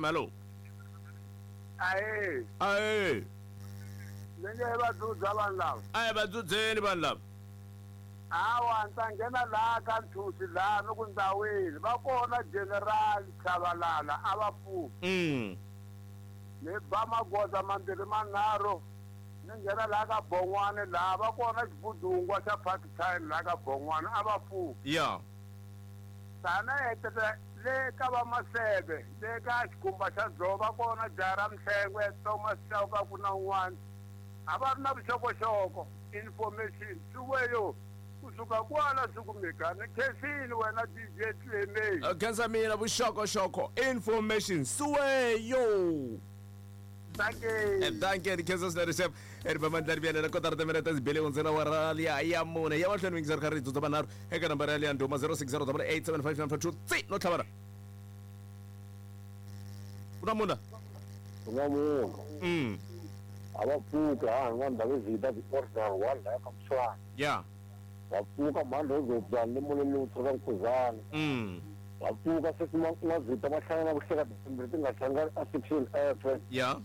FM, hello. Ahee. Ahee. Ni nge va dzudza vanhu lava. A hi va dzudzeni vanhu lava. Hawa ni ta nghena laha ka nthusi laha ni ku ndzawini va kona general Chabalala a va pfuki. Ni ba magoza mambirhi manharhu ni nghena laha ka Bon'wani laha va kona xibudungwa xa part time laha ka Bon'wani a va pfuki. Ya. Tana heteta le ka va Masebe le ka xikhumba xa dzovo va kona jaha ra Mhlengwe Thomas Chauke ku na un'wana a va ri na vuxokoxoko information swi weyo kusuka kwala swi kumeka ni khensile wena DJ Clemay. Khensa mina vuxokoxoko information suweyo. Dankie. Dankie ni khensa swinene chef ri ba mandla ri vuyela kotara timinete ti bele hundzela wa ra liya ya mune ya mahlweni yingiseri kha ri dzudza vanharhu eka nambara ya liya ndhuma 0608875952 tsi no tlhavana ku na munhu Ku na munhu. A va pfuki ha n'wana Ndhavezitha the original one laya ka Mtshwana. Ya. Va pfuka mhani Rozobzani le molweni lowu tshoka Nkhuzana. Va pfuka sweswi N'wazita va hlangana na vuhleka timbirhi ti nga hlangani a section F. Ya.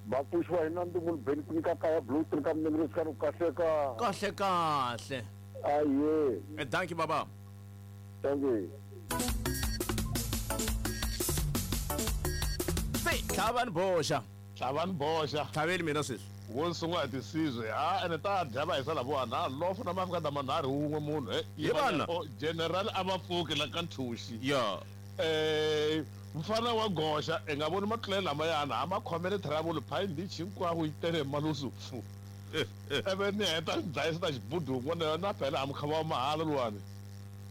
Va pfuxiwa hi Nandzu Mulubeni ku nyika kaya blue three ka Mnengirisi ka kahle ka. Kahle kahle. Aye. Thank you baba. Thank you. Se tlhavani boxa. Tlhavani boxa. Tlhaveli mina sweswi. Wo sungula hi tisizwe ha ene ta dya va hisa lavawani ha lofo na mafika na manharhu wun'we munhu he Hi vana. O, general a va pfuki la ka nthuxi Ya. Mfana wa goxa i nga voni matlulelo lamayana ha ma khomele trouble pine beach hinkwako yi tele hi malusu pfu ivi ni heta ni dlayisa na xibudungu na na phela a mukhava wa mahala luwani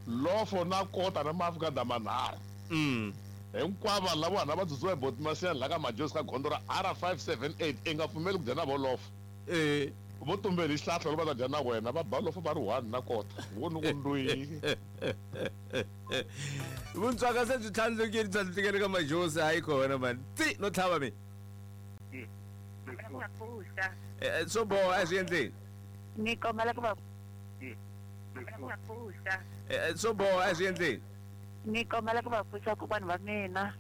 lofo na kota na mafika na manharhu Hinkwavo vanhu lava va dzudziwa hi Boti Masiyani laha ka Majozi ka gondzo ra R578 i nga pfumeli ku dya na vo lofo. Vo tumbeli hi xihlahla loko va ta dya na wena va ba lofo va ri one na kota. Vo ni ku ndwii. Vuntswaka se byi tlhandlukile tlhandlukele ka Majozi hayi kona mani. Tsi no tlhava mi. Swo boha a swi endleni. Ni kombela ku va pfuxa. Swo boha a swi endleni. Ni kombela ku va pfuxa kokwana va mina.